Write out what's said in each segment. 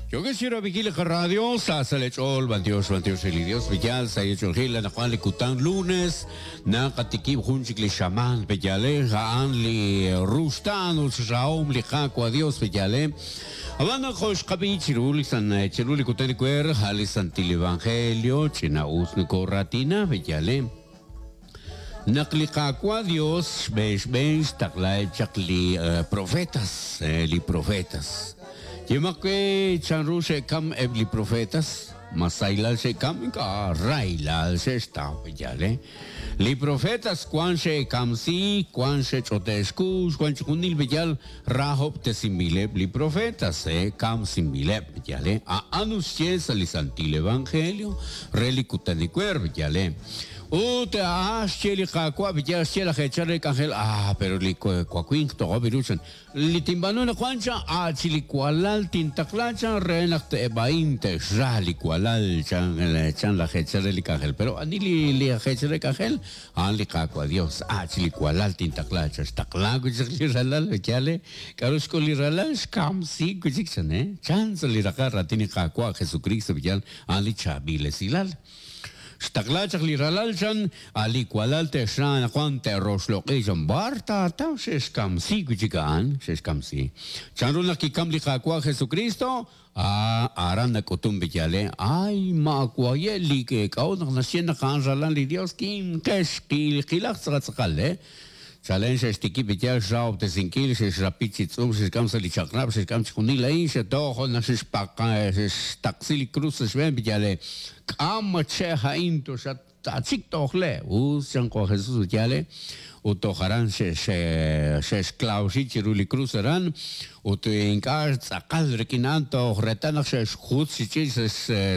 Yokex chi rab'inkil li qaradio, sa sa' leech'ool, b'antiox, b'antiox re li Dios, pe'yaal sa' eech'oolejil anaqwan li kutan lunes, naqatikib' jun chik li xamaan, pe'yaal a'an li ruxtaan ut xrahom li Qaawa' Dios, pe'yaal Ab'an naq jo' xqab'i chiru li san chiru li kutan ewer, a' li Santil Evangelio ch'ina-us nokoraatina, pe'yaal Naq li Qaawa' Dios xb'een xb'een xtaqlaheb' chaq li profetas, li profetas. Yemaq we chanru xe'kam eb' li profetas? Ma sahilal xe'kam? Ink'a', rahilal xe'xtaw, yaal, eh? Li profetas wan xe'kamsiik, wan xe'ch'ote' xkux, wan chixjunil b'eyal rahob'tesinb'ileb' li profetas, eh, kamsinb'ileb', yaal, eh? A'an ut xye sa' li Santil Evangelio re li kutan ewer, yaal, eh? Ut a'an xye li Qaawa', b'iyal xye laj eechal re k'anjel, Ah, pero li wawinq toq'ob' ru, chan. Li tinb'aanu anaqwan, chan, a' chi li walal tintaqla, chan, re naq eb' a'in te'xra li walal, chan, chan laj eechal re li k'anjel. Pero ani li, li aj eechal re k'anjel? A'an li Qaawa' Dios. A' chi li walal tintaqla, chan. Xtaqla wi' chik li ralal, yaal, eh? K'a'ru xk'ul li ralal? Xkamsiik wi' chik, chan, eh? Chan sa' li raqal raatin li Qaawa' Jesukristo, b'iyal, a'an li chaab'il esilal. Xtaqla chaq li ralal, chan, a' li walal te'xra anaqwan te'roxloq'i, chan. B'ar taataw xe'xkamsi wi' chik a'an? Xe'xkamsi. Chanru naq kikam li Qaawa' Jesukristo? A, aran nak'utun b'iyale. Ay, maawaye' li k'a'ut naq naxye naq a'an ralal li Dios, kimqex, qilaq tz'aqal tz'aqal, eh? Chalen xe'xtikib' li yaal xrahob'tesinkil, xe'xrapi chi tz'uum, xe'xk'am sa' li chaq'rab', xe'xk'am chixjunil a'in, xe'toq jo' naq xe'xtaqsi li krus sa' xb'een, yal k'am che' a'in toxatachik tojle. Us, chan jo' Jesús ut yaal, ut toj aran xe'xklawxi chiru li krus aran, ut ink'a' tz'aqal rik'in a'an toj reetal naq xe'xjutz chi ch'iich'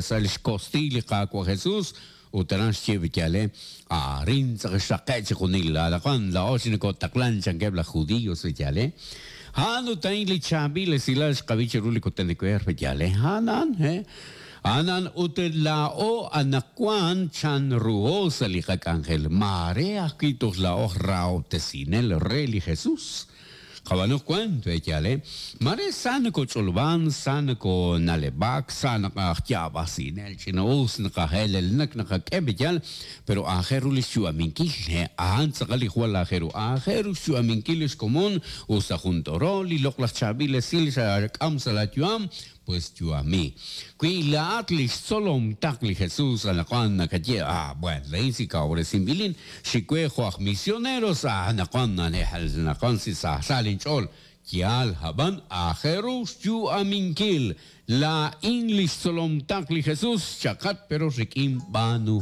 sa' li xkostiiy li Qaawa' Jesús. Ut aran xye B'yale, Arin tz'aq xraqe' chixjunil, anaqwan laa'o chi nokotaqlan, chankeb' laj Judio sa' B'yale. A'an ut a'in li chaab'il esilal xqab'i chiru li kutan ewer, B'yale. A'an a'an, he. A'an a'an, ut laa'o anaqwan chanruho sa' li qak'anjel, maare ajwi' toj laa'o aj rahob'tesinel re li Jesus. Qab'aanuq wan, pe'yaal e? Maare sa nokoch'olob'an, sa nokona'leb'ak, sa naqaj yaab'asinel, ch'ina-us naqaheelelnak naqak'e, pe'yaal? Pero aajel ru li xyu'aminkil, he, a'an tz'aqal li jwal aajel ru. Aajel ru xyu'aminkil li xkomon, us ta jun t'orol, li loq'laj chaab'il esil xak'am sa' laa yu'am, Pues yu'ami. Wi laa'at li xtzolom taq li Jesús anaqwan nakaye, Ah, bueno, laa'in si kawresinb'ilin, xik we jo' aj misioneros, ah, anaqwan anaqwan si saasa linch'ool. Yaal, ab'an aajel ru xyu'aminkil. Laa'in li xtzolom taq li Jesús, chaqat pero rik'in b'aanuhom.